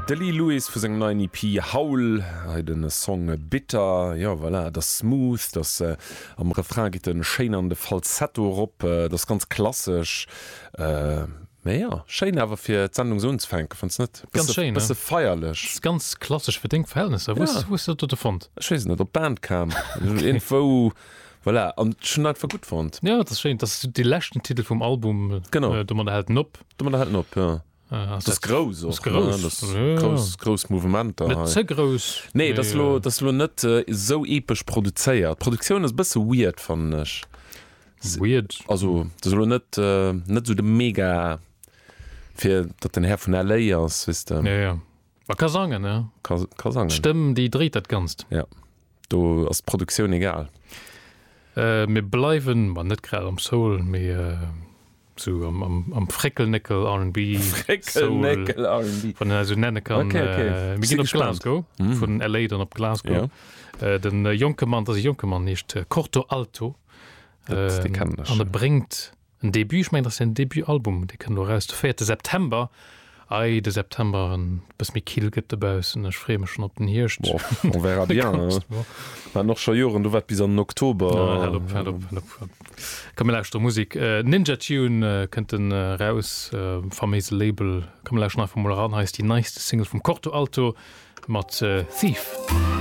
De Lee Lewis vu sengem neien EP Howl, hei de Song Bitter. Jo voilà, et ass smooth, et ass am Refrain geet e schéin an de Falsetto erop, et ass ganz klassesch. Mee jo, schéin awer fir d'Sendung esou unzefänken, fënns net? Ganz schéin, ne? Bësse feierlech. Ass ganz klassesch fir deng Verhältnesser. Wou wou hues de dat dote fonnt? Ech weess et net, op Bandcamp, iergendwou, voilà. An ech hunn einfach gutt fonnt. Jo, dat ass schéin. Dat ass dee leschten Titel vum Album. Genau. Domadder hält en op. Domadder hält en op, jo. Dat ass grouss och, ne? Dat ass grouss, grouss Mouvementer hei. Net ze grouss. Nee, dat ass elo, dat ass elo net esou epesch produzéiert. D'Produktioun ass e bësse weird, fannen ech. Weird. Also, dat ass elo net, net esou de Mega, fir datt den Här vun LA ass, weess de. Ja, ja. Ma ka sangen, ne? Ka, ka sangen. D'Stëmm, déi dréit dat Ganzt. Ja. Do ass d'Produktioun egal. Mir bleiwen, ma net grad am Soul, mee Sou am, am, am Fréckelnéckel R&B. Fréckelnéckel R&B. Wann een dat esou nenne kann. Okay, okay. Mir ginn op Glasgow. Mm. Vun LA dann op Glasgow. Ja. Den jonke Mann, dat ass e jonke Mann, heescht Corto Alto. Dat, dee kennen ech. An e bréngt en Debut, ech mengen, dat ass säin Debutalbum, dee kënnt elo eraus de véierte September. Ei, de September, wann et e bësse méi kill gëtt dobaussen. Ech freeë mech schonn op den Hierscht. Boah, on verra bien. Mer haten och scho Joren, do war et bis an den Oktober. Ja, hal op, hal op, hal op. Komm mir lauschteren Musik. Ninja Tune kënnt en eraus, faméise Label. Komm mir lauschteren einfach mol eran. Hei ass déi neiste Single vum Corto Alto mat Thief.